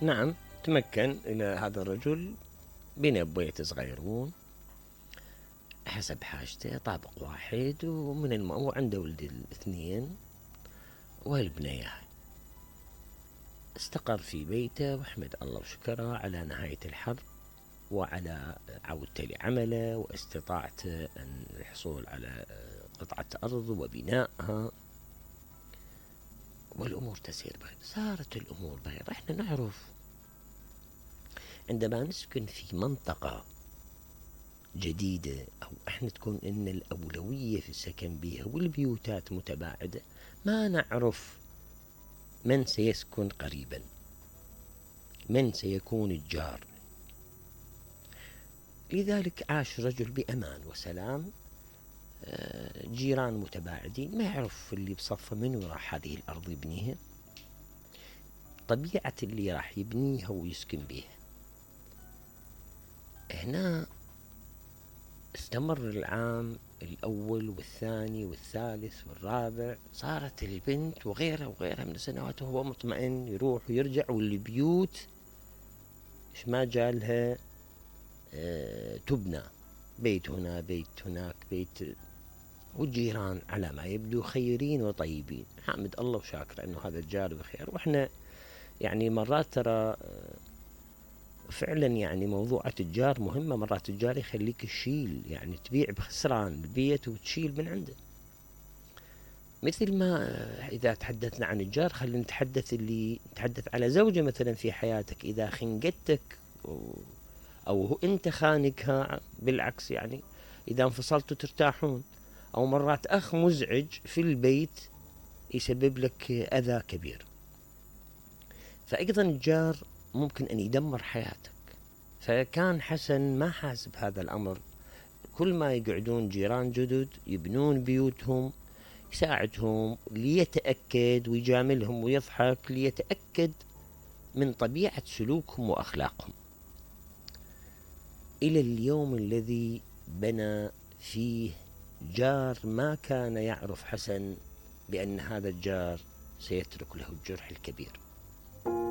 نعم، تمكن إلى هذا الرجل بنى بيت صغيرون حسب حاجته، طابق واحد، وعنده ولد الاثنين والبنية. استقر في بيته واحمد الله وشكره على نهاية الحرب وعلى عودته لعمله واستطاعته أن الحصول على قطعة أرض وبنائها، والأمور تسير بخير. صارت الأمور بخير. احنا نعرف عندما نسكن في منطقة جديدة أو احنا تكون إن الأولوية في السكن بها والبيوتات متباعدة، ما نعرف من سيسكن قريبا، من سيكون الجار. لذلك عاش رجل بأمان وسلام، جيران متباعدين، ما يعرف اللي بصفه منو راح هذه الأرض يبنيها، طبيعة اللي راح يبنيها ويسكن بيها. هنا استمر العام الأول والثاني والثالث والرابع، صارت البنت وغيرها وغيرها من السنوات وهو مطمئن يروح ويرجع، والبيوت إيش ما جالها تبنى، بيت هنا بيت هناك بيت، والجيران على ما يبدو خيرين وطيبين. حامد الله وشاكر أنه هذا الجار بخير. وإحنا يعني مرات ترى فعلا يعني موضوع التجار مهمة، مرات التجار يخليك تشيل، يعني تبيع بخسران البيت وتشيل من عنده. مثل ما إذا تحدثنا عن الجار، خلينا نتحدث على زوجة مثلا في حياتك، إذا خنقتك أو أنت خانقها بالعكس، يعني إذا انفصلتوا ترتاحون. أو مرات أخ مزعج في البيت يسبب لك أذى كبير. فأيضا الجار ممكن أن يدمر حياتك. فكان حسن ما حاسب هذا الأمر، كل ما يقعدون جيران جدد يبنون بيوتهم، يساعدهم ليتأكد ويجاملهم ويضحك ليتأكد من طبيعة سلوكهم وأخلاقهم، إلى اليوم الذي بنى فيه جار ما كان يعرف حسن بأن هذا الجار سيترك له الجرح الكبير.